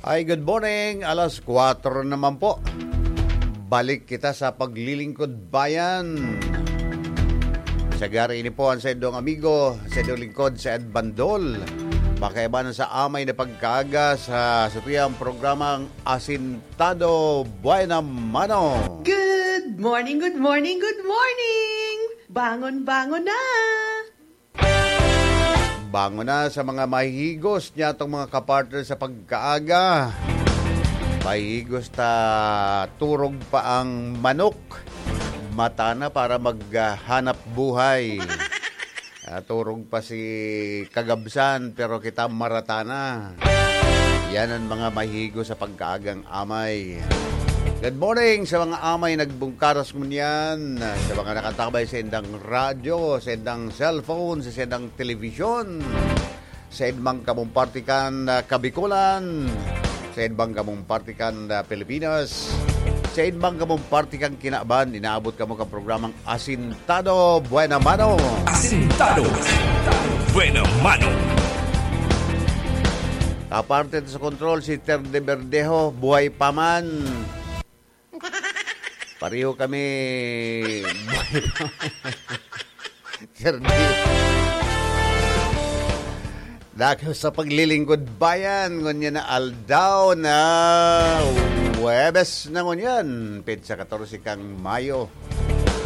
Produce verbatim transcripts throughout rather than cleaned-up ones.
Ay, good morning. Alas kwatro naman po. Balik kita sa Paglilingkod Bayan. Sa gari ini po ang saindong amigo, saindong lingkod, si Ed Bandol. Pakaibanan sa amay na pagkaaga sa satuyang programang Asintado Buena Mano. Good morning, good morning, good morning! Bangon, bangon na! Bangon na sa mga mahihigos niya itong mga kapartner sa pagkaaga. Mahihigos ta turog pa ang manok. Mata na para maghanap buhay. Ah, turog pa si Kagabsan, pero kita marata na. Yan ang mga mahihigos sa pagkaagang amay. Good morning sa mga amay nagbungkaras ngunyan, sa mga nakatabay sa indang radyo, sa indang cellphone, sa indang telebisyon, sa indang kamong partikan na Kabikolan, sa indang kamong partikan na Pilipinas, sa indang kamong partikan kinaban, inaabot kamo kang programang Asintado Buena Mano. Asintado Buena Mano. Aparte sa kontrol, si Ter de Verdejo, buhay pa man. Pareho kami. Buhay pa man. Ter de. Dakul sa Paglilingkod Bayan, ngunyan na aldaw na Huwebes na ngunyan, petsa katorse kang Mayo,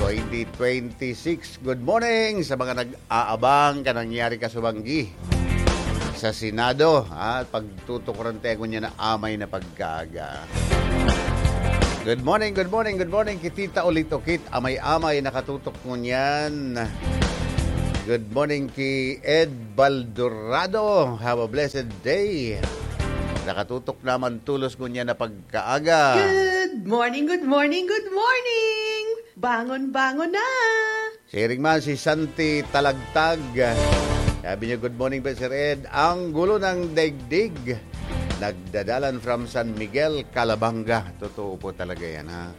twenty twenty-six. Good morning sa mga nag-aabang ka nangyari kasubanggi sa Senado, ha? Pagtutukuran tayo ngunyan na amay na pagkaaga. Good morning, good morning, good morning, Kitita Ulit Ukit, amay-amay, nakatutok ngunyan. Good morning ki Ed Baldorado. Have a blessed day. Nakatutok naman tulos ngunyan na pagkaaga. Good morning, good morning, good morning! Bangon, bangon na! Siring man si Santi Talagtag. Sabi niya, "Good morning po, Sir Ed. Ang gulo ng daigdig." Nagdadalan from San Miguel, Calabanga. Totoo po talaga yan, ha?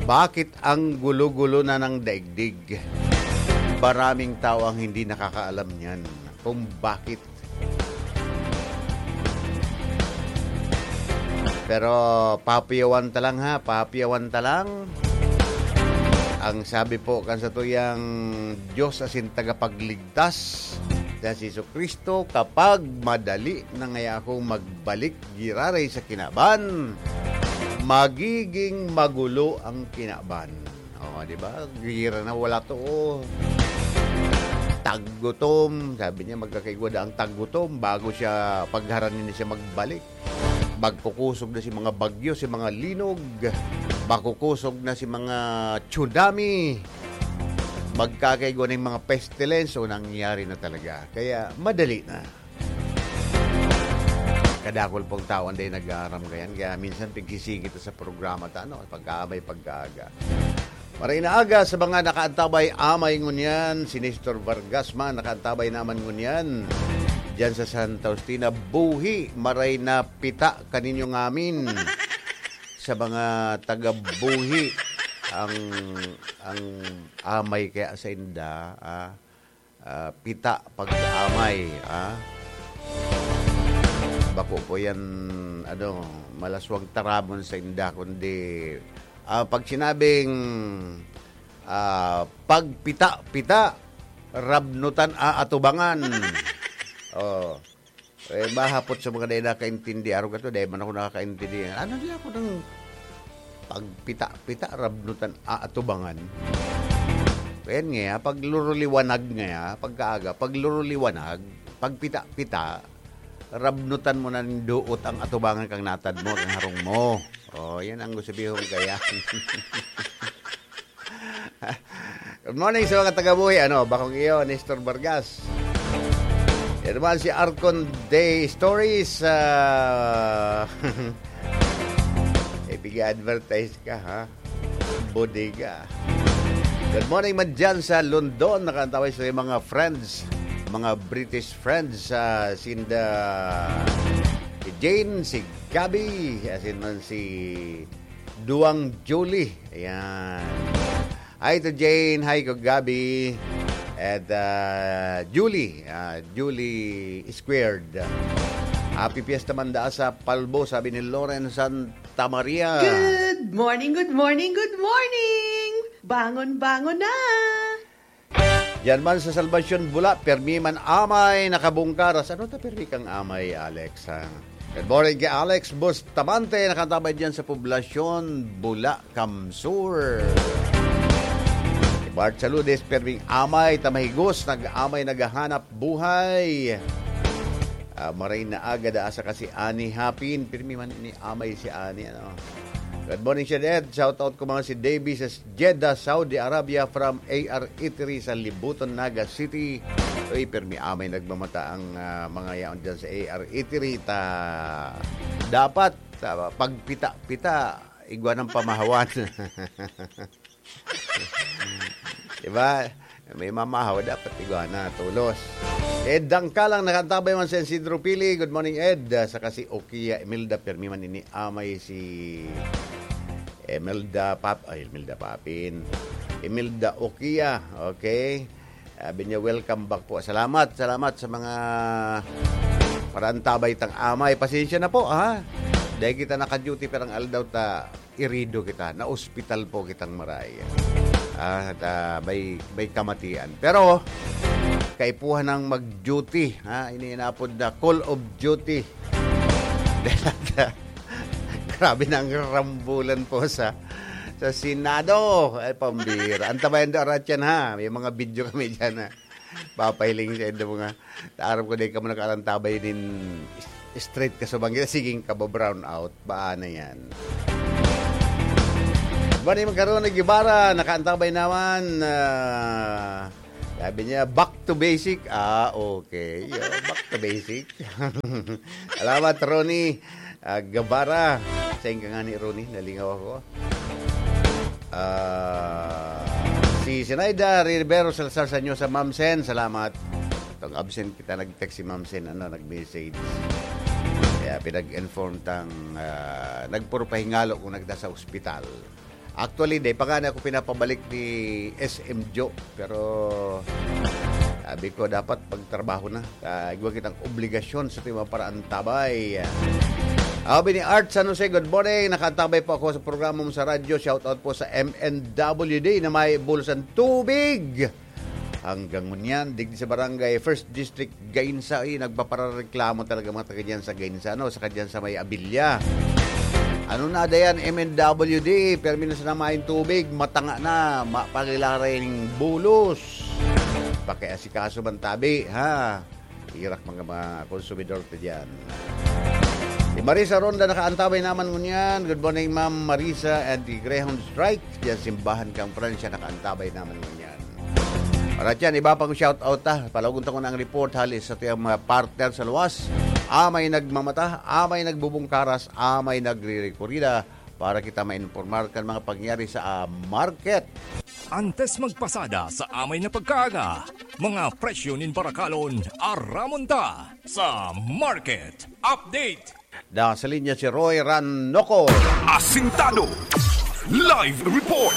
Bakit ang gulo-gulo na ng daigdig? Maraming tao ang hindi nakakaalam niyan kung bakit. Pero papiyawan ta lang, ha, papiyawan ta lang. Ang sabi po kan satuyang Diyos asin tagapagligtas na si Jesu-Cristo, "Kapag madali na ngaya akong magbalik giraray sa kinaban, magiging magulo ang kinaban." Oh, di ba? Gira na wala to, oh. Taggutom. Sabi niya, magkakaigwa na ang taggutom bago siya, pagharanin na siya magbalik. Magkukusog na si mga bagyo, si mga linog. Makukusog na si mga tsunami. Magkakaigwa na yung mga pestilence. So, nangyari na talaga. Kaya, madali na. Kadakul pong tao ang day nag-aaram kayan. Kaya minsan, pigsisigit sa programa ta, ano, pagkaamay, pagkaaga. Maray na aga sa mga nakaantabay amay ngunyan, si Nestor Vargas man nakaantabay naman ngunyan. Diyan sa Santa Justina, buhi, maray na pita kaninyo ngamin. Sa mga taga-buhi, ang, ang amay kaya sa inda, ah, ah, pita pag-amay, ah. Bako po yan, ano, malaswag tarabon sa inda, kundi, ah, pag sinabing, ah, pagpita-pita, rabnutan aatubangan. Oh. Eh, mahapot sa mga dai nakaintindi, arog ato, dai man ako nakakaintindi. Ano di ako nang pagpita-pita, rabnutan, aatubangan? Ayan nga, pagluruliwanag nga, pagkaaga, pagluruliwanag, pagpita-pita, rabnutan mo na ning duot ang atubangan kang natad mo, kang harong mo. Oh, yan ang gusto bihong kaya. Good morning sa mga taga-buhi. Ano, bakong iyo, Nestor Vargas. Yan naman si Arcon Day Stories. Ah, ipig-advertise ka, ha? Bodega. Good morning man dyan sa London. Nakantaway sa mga friends, mga British friends, ah, sinda Jane, si Gabby, asin man si Duang Julie. Ayan. Hi to Jane. Hi ko Gabby. At, ah, Julie. Ah, Julie Squared. Happy Fiesta man daa sa Palbo, sabi ni Loren Santa Maria. Good morning, good morning, good morning! Bangon, bangon na! Diyan man sa Salvacion, Bula, permi man amay nakabungkaras. Ano ta permi kang amay, Alex, ha? Good morning kay Alex Bustamante, nakatabay diyan sa Poblacion, Bula, Kamsur. Kay Bart Saludes, perming amay, tamahigos, nag-amay, naghahanap buhay. Ah, maray na aga, daa sa kasi Ani Hapin, pirmi man ni amay si Ani, ano. Good morning, Shed Ed. Shout out ko mga si Davy sa Jeddah, Saudi Arabia, from A R Eatery sa Libuton, Naga City. Uy, pirmi amay nagmamata ang, ah, mga yaon dyan sa A R Eatery. Ta, dapat, ah, pagpita-pita, igwa ng pamahawan. Diba? May mamahaw, dapat igwa na, tulos. Ed Dangkalang, nakaantabay man sa Isidro Pili. Good morning, Ed. Ah, saka si Okia Imelda, permi man ini amay si Imelda Pap-, ay, Imelda Papin. Imelda Okia, okay? Sabi niya, "Welcome back po." Salamat, salamat sa mga paraantabay tang amay. Pasensya na po, ha? Dahil kita naka-duty, pero ang aldaw ta, irido kita. Na-ospital po kitang maray. Ah, ta, may, may kamatian. Pero, kaipuhan ng mag-duty, ha? Ini inapod na call of duty. Grabe na ang rambulan po sa, sa Senado. Ay, pambira. Antabayan do, Aratyan, ha? May mga video kami dyan, ha? Papahiling sa indo mga, aram ko, di ka mo nakalantabay din straight ka sa bangketa. Siging ka ba brown out? Baan na yan? Bani magkaroon ng Guevara, nakaantabay naman. Ah, sabi niya, "Back to basic." Ah, okay. Yo, back to basic. Salamat, Ronnie. Ah, Guevara. Sain ka nga ni Ronnie? Nalingaw ako. Ah, si Sinaida Rivero Salazar Sanyo sa Ma'am Sen. Salamat. Itong absent kita, nag-text si Ma'am Sen, ano, nag-message. Kaya pinag-inform tang, ah, nagpurupahingalo kung nagda sa ospital. Actually, di pa nga na ako pinapabalik ni S M Joe. Pero sabi ko, dapat pagtrabaho na. Ah, igwa kitang obligasyon sa ating mga paraantabay. Abi ni Art San Jose, "Good morning. Nakaantabay po ako sa programa mo sa radyo. Shout out po sa M N W D na may bulusan tubig." Hanggang ngunyan, digdi sa barangay First District, Gainsa, eh, nagpaparareklamo talaga mga taga dyan sa Gainsa, no? Sa kadyan sa may Abilia. Ano na dayan, M N W D, permi na sana main tubig, matanga na, mapagilaring bulos. Pakiasikaso man tabi, ha? Irak mga, mga konsumidor ta dyan. Si Marisa Ronda nakaantabay naman ngunyan. Good morning, Ma'am Marisa and the Greyhound Strike. Diyan simbahan kang Francia nakaantabay naman ngunyan. Para dyan, iba pang shout out ta. Palagon ta ko na ang report hali sa tiyang mga partner sa luwas. Amay nagmamata, amay nagbubungkaras, amay nagre-rekurida para kita mainformar kan mga pangyayari sa, ah, market. Antes magpasada sa amay na pagkaaga, mga presyo nin barakalon, aramon ta sa Market Update. Da sa linya si Roy Ranocor. Asintado. Live report.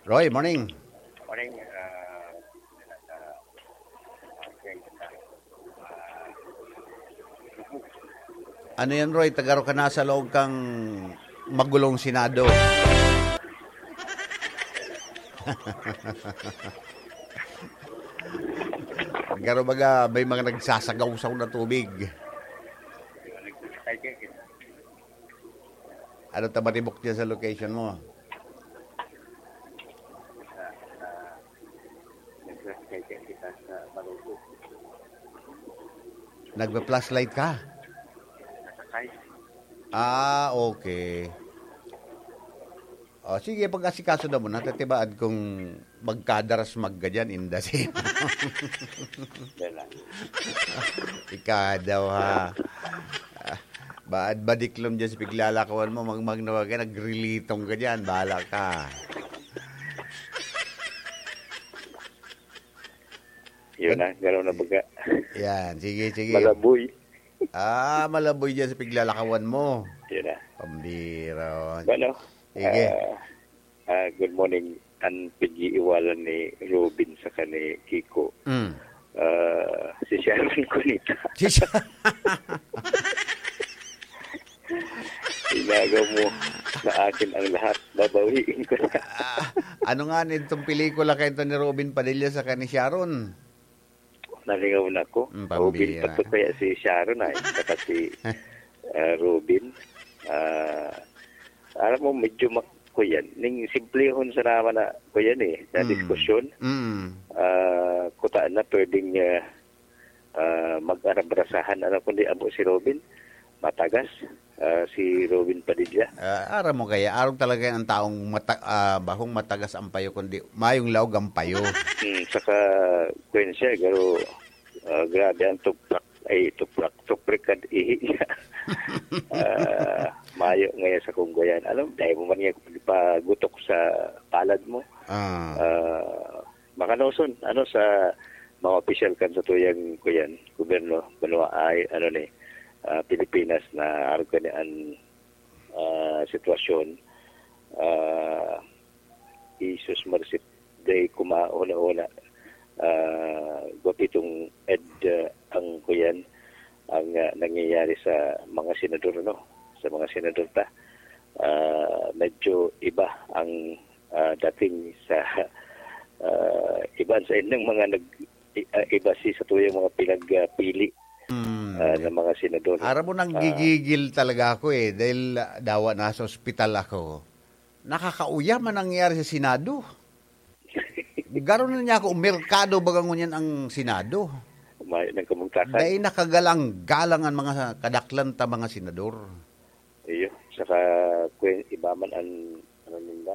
Roy, morning. Morning, ah, ah, okay. Ano yan, Roy? Tagaro ka na sa loob kang magulong Senado. Garo baga, may mga nagsasagawsaw na tubig. Ano ta maribok dyan sa location mo? Nagpa-flashlight ka? Ah, okay. O, sige, pag-asikaso na mo, natatibaad kung magkadaras magga dyan, indasin. Yan lang. Ikaw daw, ha? Ah, baad badiklom dyan sa piglalakawan mo, magmagnawa ka, nagrilitong ka dyan, bahala ka. Yun na, gano'n na baga. Yan, sige, sige. Malaboy. Ah, malaboy dyan sa piglalakawan mo. Yun na. Pambira. Bueno, sige. Ah, ah, good morning. Ang pag-iiwalan ni Robin sa kani Kiko. Mm. Ah, Si Sharon Cuneta. Si Sha- Inagaw mo sa akin ang lahat, babawiin ko na. Ah, ano nga nitong pelikula kayo ni Robin Padilla sa ni Sharon? Nalingaw na ko. Mm, Robin pambira. Pa to kaya si Sharon ay, saka si, ah, Robin. Ah, alam mo, medyo mak-, ko yan. Ning simplehon sa naman na ko yan eh, na Mm. diskusyon. Mm. Ah, kuta na pwedeng, ah, ah, mag-arabrasahan. Ano kundi abo si Robin? Matagas. Ah, si Robin Padilla. Ah, aram mo kaya, arog talaga ang taong mata-, ah, bahong matagas ang payo, kundi mayong laog ang payo. Hmm, saka, kwen siya, pero, ah, grabe ang tuprak, ay, tuprak, tuprik at ihi niya. Ah, mayo ngayon sa kunggoyan. Alam, dahil mo man nga pagutok sa palad mo. Ah. Ah, makanoson, ano, sa mga opisyal kan sa tuyang, kuyan, gobyerno, banwa ay, ano ni, ah, Pilipinas na arog ka ni an, ah, sitwasyon, ah, Jesus Mercy Day, kuma-, una-una, ah, gwapitong ed, ah, ang, kuyan, ang, ah, nangyayari sa mga senador, no? Sa mga senador ta. Ah, medyo iba ang, ah, dating sa, ah, iban sa inyong mga nag-, i-, ah, iba si sa tuyang mga pinagpili, Hmm. ah, ng mga senador. Aram mo, Ah. nanggigigil talaga ako eh, dahil, ah, dawa nasa ospital ako. Nakakauya man nangyari sa Senado. Garo na niya ako, merkado baga ngunyan ang Senado. May nagkamugtakan. Dahil nakagalang-galang ang mga kadaklan ta mga senador. Iyo, saka kwen iba man ang ano ninda.